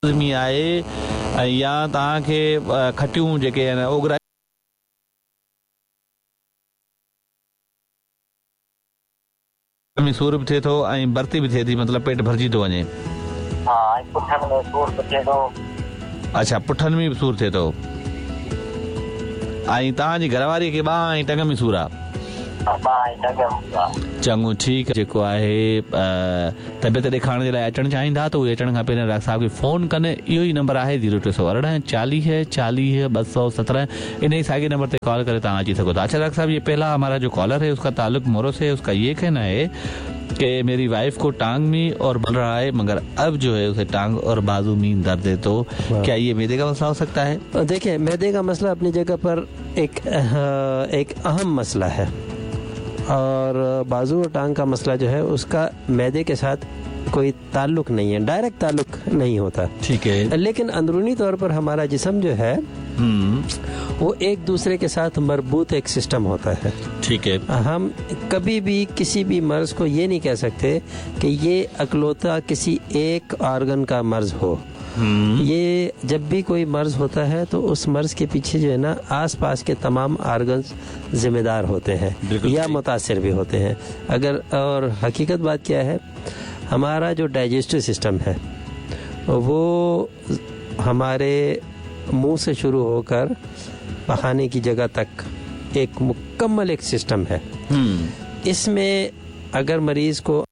لازمي آهي ۽ يا توهان کي کٽيون جيڪي آهن اوڳرائي ۾ سور به ٿئي ٿو ۽ ڀرتي به ٿئي ٿي مطلب پيٽ ڀرجي ٿو وڃي. ها ۽ پٺن ۾ سور به ٿئي ٿو. اڇا پٺن ۾ به سور ٿئي ٿو ۽ توهان جي گهر واري کي ٻانهن ۽ ٽنگ ۾ سور آ. ها ٻانهن ۽ ٽنگ ۾ سور آ. چڱو ٺيڪ جيڪو آهي طبيعت ڏيکارڻ جي لاء اچڻ چاهيندا ته اهي اچڻ کان پهريان ڊاڪٽر صاحب کي فون ڪن اهو ئي نمبر آهي زيرو 318 40 40 217 انهي ساڳي نمبر تي ڪال ڪري توهان اچي سگهو ٿا اڇا ڊاڪٽر صاحب ये पहला हमारा जो कॉलर है उसका تعلق مورو से है उसका ये कहना है कि मेरी वाइफ को टांग में और बल रहा है मगर अब जो है उसे टांग और बाजू में दर्द है तो क्या ये मैदे का मसला हो सकता है देखिए मैदे का मसला अपनी जगह पर एक एक अहम मसला है और बाजू और टांग का मसला जो है उसका मैदे के साथ कोई ताल्लुक नहीं है, डायरेक्ट ताल्लुक नहीं होता। ठीक है। लेकिन अंदरूनी तौर पर हमारा जिस्म जो है वो एक दूसरे के साथ मरबूत एक सिस्टम होता है। ठीक है। हम कभी भी किसी भी मर्ज को ये नहीं कह सकते कि ये अकलौता किसी एक ऑर्गन का मर्ज हो। ये जब भी कोई मर्ज होता है तो उस मर्ज के पीछे जो है ना आसपास के तमाम ऑर्गन्स जिम्मेदार होते हैं या मुतासिर भी होते हैं। अगर और हकीकत बात क्या है, हमारा जो डाइजेस्टिव सिस्टम है वो हमारे मुंह से शुरू होकर पखाने की जगह तक एक मुकम्मल एक सिस्टम है। इसमें अगर मरीज़ को